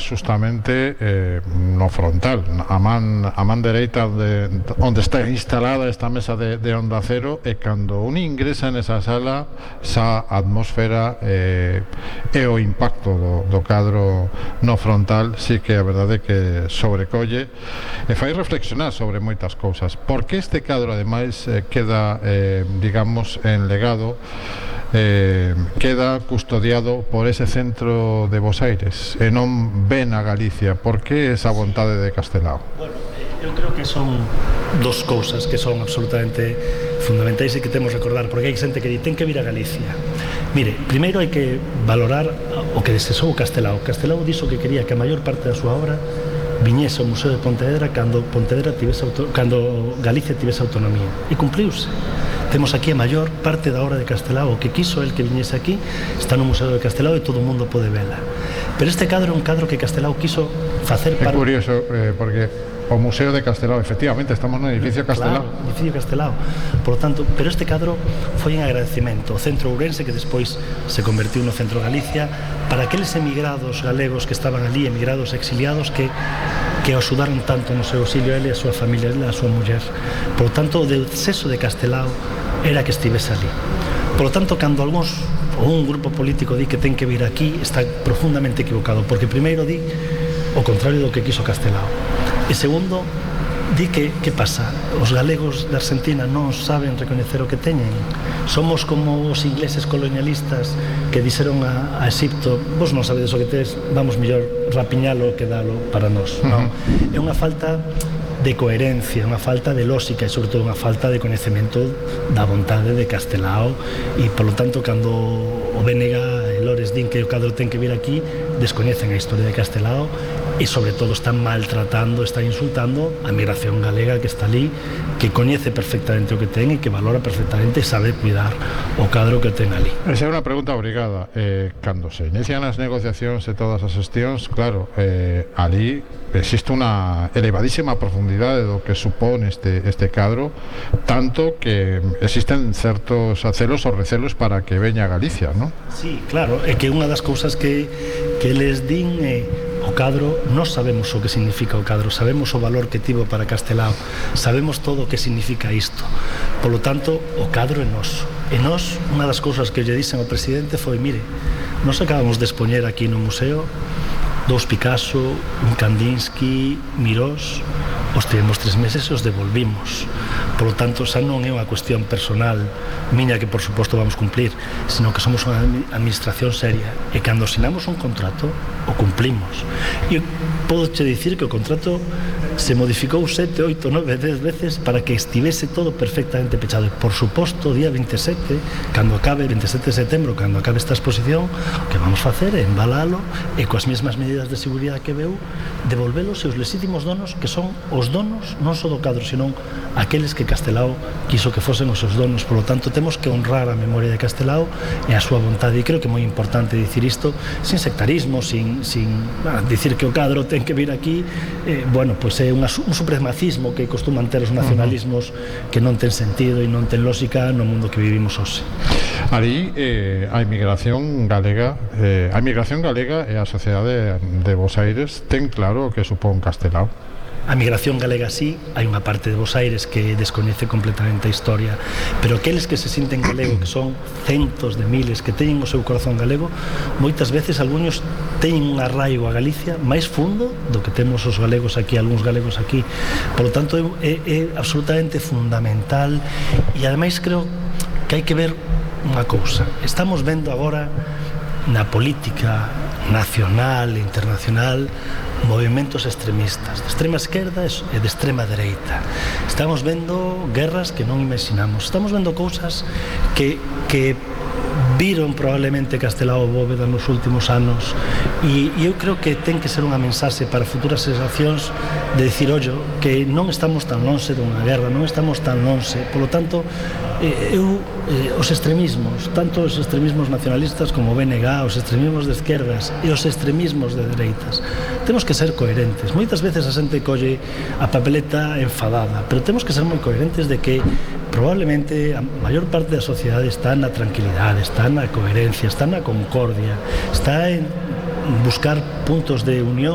justamente no frontal, a man dereita onde está instalada esta mesa de Onda Cero, e cando un ingresa nesa sala, esa atmósfera e o impacto do cadro no frontal sí que a verdade que sobrecolle e fai reflexionar sobre moitas cousas. Por que este cadro ademais queda digamos en legado, queda custodiado por ese centro de Bos Aires e non ven a Galicia? Por que esa vontade de Castelao? Bueno, eu creo que son dos cousas que son absolutamente fundamentais e que temos que recordar, porque hai xente que di ten que vir a Galicia. Mire, primeiro hai que valorar o que desexou Castelao. Castelao dixo que quería que a maior parte da súa obra viñese ao Museo de Pontevedra cando Galicia tivese autonomía, e cumpliuse. Temos aquí a maior parte da obra de Castelao, o que quiso el que viñese aquí está no Museo de Castelao e todo o mundo pode vela. Pero este cadro é un cadro que Castelao quiso facer para... É curioso, porque o Museo de Castelao, efectivamente, estamos no edificio Castelao. Claro, edificio Castelao. Por lo tanto, pero este cadro foi en agradecemento ao Centro Ourense, que despois se convertiu no Centro Galicia, para aqueles emigrados galegos que estaban ali, emigrados exiliados, que axudaron tanto no seu auxilio ele e a súa familia, ele e a súa muller. Por lo tanto, o desexo de Castelao era que estivese ali. Por lo tanto, cando algúns ou un grupo político di que ten que vir aquí, está profundamente equivocado, porque primeiro di o contrario do que quiso Castelao. E segundo, di que pasa? Os galegos da Argentina non saben recoñecer o que teñen. Somos como os ingleses colonialistas que dixeron a Egipto: vos non sabedes o que tedes, vamos mellor rapiñalo que dalo para nós. Non? É unha falta de coherencia, unha falta de lógica e sobre todo unha falta de coñecemento da vontade de Castelao, e polo tanto cando o BNG e Lores din que o cadro ten que vir aquí, descoñecen a historia de Castelao e sobre todo están maltratando, están insultando a migración galega que está ali, que coñece perfectamente o que ten e que valora perfectamente e sabe cuidar o cadro que ten ali. Esa é unha pregunta obrigada. Cando se inician as negociacións e todas as xestións, claro, ali existe unha elevadísima profundidade do que supón este cadro, tanto que existen certos acelos ou recelos para que veña a Galicia, non? Sí, claro, é que unha das cousas que les din o cadro, nós sabemos o que significa o cadro, sabemos o valor que tivo para Castelao, sabemos todo o que significa isto. Por lo tanto, o cadro é noso. E nós, unha das cousas que lle dixen ao presidente foi: mire, nós acabamos de expoñer aquí no museo 2 Picasso, un Kandinsky, Mirós, os tivemos 3 meses e os devolvimos. Por lo tanto, xa non é unha cuestión personal miña, que por suposto vamos cumplir, sino que somos unha administración seria, e cando asinamos un contrato o cumplimos. E podo che dicir que o contrato se modificou 7, 8, 9, 10 veces para que estivese todo perfectamente pechado. E por suposto, o día 27, cando acabe, 27 de setembro, cando acabe esta exposición, o que vamos facer é embalalo e coas mesmas medidas de seguridade que veu, devolvelos aos legítimos donos, que son os donos non só do cadro, senón aqueles que Castelao quiso que fosen os seus donos. Por lo tanto, temos que honrar a memoria de Castelao e a súa vontade, e creo que é moi importante dicir isto sin sectarismo, sin dicir que o cadro ten que vir aquí. Bueno, pois é un supremacismo que costuman ter os nacionalismos, que non ten sentido e non ten lógica no mundo que vivimos hoxe. Ali a inmigración galega e a sociedade de Bos Aires ten claro o que supón Castelao. A migración galega sí, hai unha parte de Bos Aires que descoñece completamente a historia, pero aqueles que se sinten galego, que son centos de miles, que teñen o seu corazón galego, moitas veces algúns teñen un arraigo a Galicia máis fundo do que temos os galegos aquí, algúns galegos aquí. Por lo tanto, é absolutamente fundamental, e ademais creo que hai que ver unha cousa. Estamos vendo agora na política nacional e internacional movimentos extremistas, de extrema esquerda e de extrema dereita. Estamos vendo guerras que non imaginamos, estamos vendo cousas que viron probablemente Castelao Bóveda nos últimos anos, e eu creo que ten que ser unha mensaxe para futuras xeracións de dicir, ollo, que non estamos tan lonxe dunha guerra, non estamos tan lonxe. Por lo tanto, os extremismos, tanto os extremismos nacionalistas como o BNG, os extremismos de esquerdas e os extremismos de dereitas, temos que ser coherentes. Moitas veces a xente colle a papeleta enfadada, pero temos que ser moi coherentes de que probablemente a maior parte da sociedade está na tranquilidade, está na coherencia, está na concordia, está en buscar puntos de unión